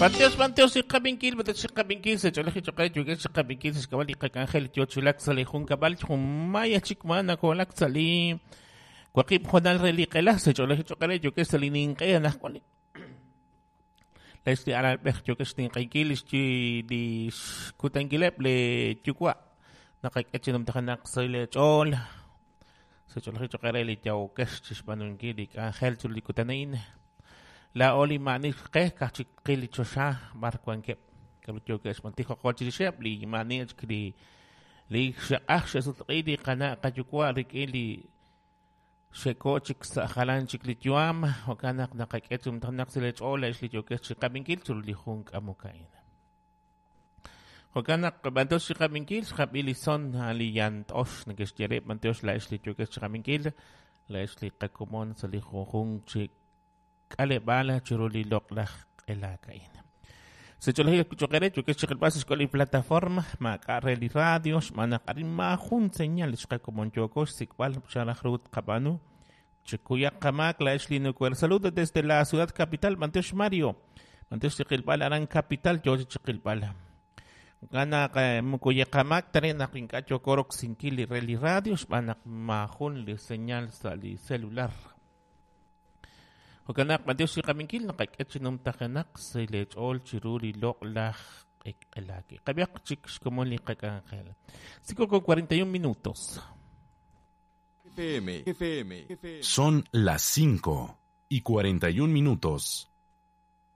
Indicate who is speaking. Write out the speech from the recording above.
Speaker 1: B'antiox, b'antiox li qab'inkil, b'antiox li qab'inkil, sa' ch'oolej li choqe, yookeb' chi qab'inkil sa' xk'ab'a' li qak'anjel yoo chulak sa' li junkab'al, junmaya chik ma nakowulak sa' li waqib' hoonal re li q'ela, sa' ch'oolej li choqe yookeb' sa' li ninq'e anaqwan. Lex li alalb'ej yookeb' xninq'ehinkil li xkutankileb' li yuwa' naqak'e chi numtajenaq sa' li ch'ool. Sa' ch'oolej li choqe re li yookex chi xb'aanunkil li k'anjel chiru li kutan a'in. Laa'o li maa'ani qe ka'aj chik qil li choxa b'ar wankeb' k'aru yookeb' xb'aan tijoqo chirixeb' li maa'ani chik li xe'q'aj xe'sutq'i li qana' qayuwa' rik'in li xe'ko chik sa' jalan chik li yu'am jo'kan naq naqak'e chi numtajenaq sa' li ch'ool laa'ex li yookex chi qab'inkil chiru li jun k'amok a'in. Jo'kan naq b'antiox chi qab'inkil xqab'i li son li yant'ox neke'xye re b'antiox laa'ex li yookex chi qab'inkil laa'ex li qakomon sa' li junjunq chi k'aleb'aal chiru li loq'laj q'elaak a'in. Sa' ch'oolejil cho'q eere yookex chi qilb'al sa' xk'ol li plataforma maak'a' re li radio xb'aan naq arin maajun señal li xqakomon yooko xsik'b'al chan raj ru tqab'aanu. Chekuyaq qamaak laa'ex li nokoher. Saludos desde la ciudad capital, b'antiox Mario. B'antiox li qilb'al aran capital yoo chi qilb'al. Jo'kan naq moko yeqamaak ta re naq ink'a' yooko roksinkil li re li radio xb'aan naq maajun li señal sa' li celular. Jo'kan naq b'antiox li qab'inkil naqak'e chi numtajenaq sa' leech'ool chiru li loq'laj q'eq'elaak. Qab'ihaq chik xkomon li qak'anjel. 5 con 41 minutos.
Speaker 2: FM, FM,
Speaker 3: Son las 5 y 41 minutos.